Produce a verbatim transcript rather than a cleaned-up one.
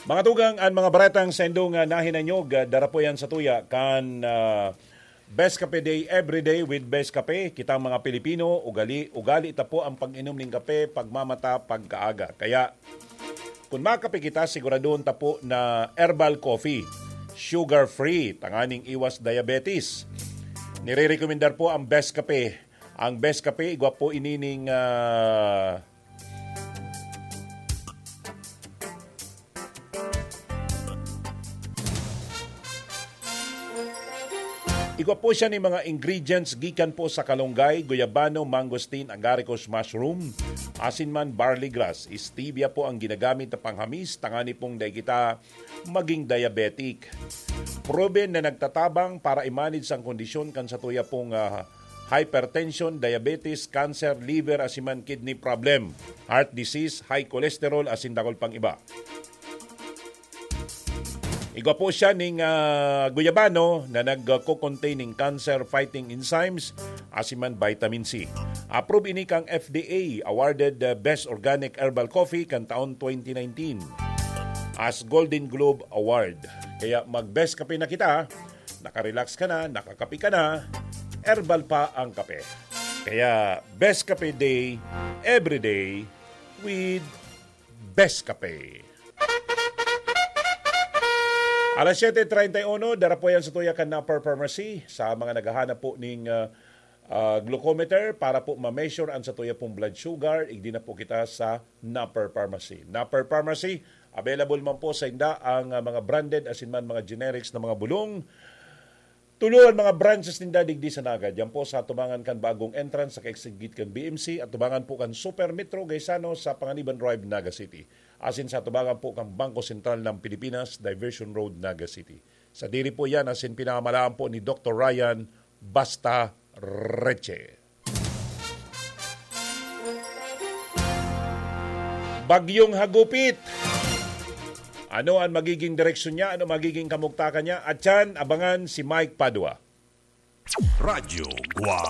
Mga tugang, an mga baretang saindong, ah, nahinanyog, ah, dara po yan sa tuya kan, ah, Best Kape Day, every day with Best Kape. Kitang mga Pilipino, ugali, ugali ta po ang pag-inom ning kape pagmamata pagkaaga. Kaya, kun makape kita, siguradon ta po na herbal coffee, sugar-free, tanganing iwas diabetes. Nire-recomendar po ang Best Kape. Ang Best Kape, igwa po inining, ah, Igwa po siya ni mga ingredients gikan po sa kalunggay, guyabano, mangosteen, agaricus mushroom, asin man barley grass. Stevia po ang ginagamit na panghamis, tangani pong dai kita maging diabetic. Proven na nagtatabang para i-manage ang kondisyon kan satuya pong, ah, hypertension, diabetes, cancer, liver, asin man kidney problem, heart disease, high cholesterol, asin dakul pang iba. Igwa po siya ning, ah, guyabano na nagko-contain ning cancer-fighting enzymes, asin man vitamin C. Approve ini kang F D A, awarded, ah, Best Organic Herbal Coffee kan taon twenty nineteen as Golden Globe Award. Kaya mag-best kape na kita, nakarelax ka na, nakakape ka na, herbal pa ang kape. Kaya Best Kape Day, every day with Best Kape. Alas siyete treinta y uno, dara po yan sa tuya kan Napper Pharmacy. Sa mga naghahanap po ning, ah, ah, glucometer para po ma-measure ang sa tuya pong blood sugar, igdi na po kita sa Napper Pharmacy. Napper Pharmacy, available man po sa inda ang, ah, mga branded asin man mga generics na mga bulong. Tulo an mga branches ninda digdi sa Naga. Diyan po sa atubangan kan bagong entrance sa kaigsigit kan B M C, atubangan po kan Super Metro Gaisano sa Panganiban Drive, Naga City. Asin sa atubangan po kan Bangko Sentral ng Pilipinas, Diversion Road, Naga City. Sa diri po yan, asin pinamalaan po ni Doktor Ryan Basta Reche. Bagyong Hagupit. Ano ang magiging direksyon niya? Ano magiging kamugtakan niya? At yan, abangan si Mike Padua. Radyo Guwang.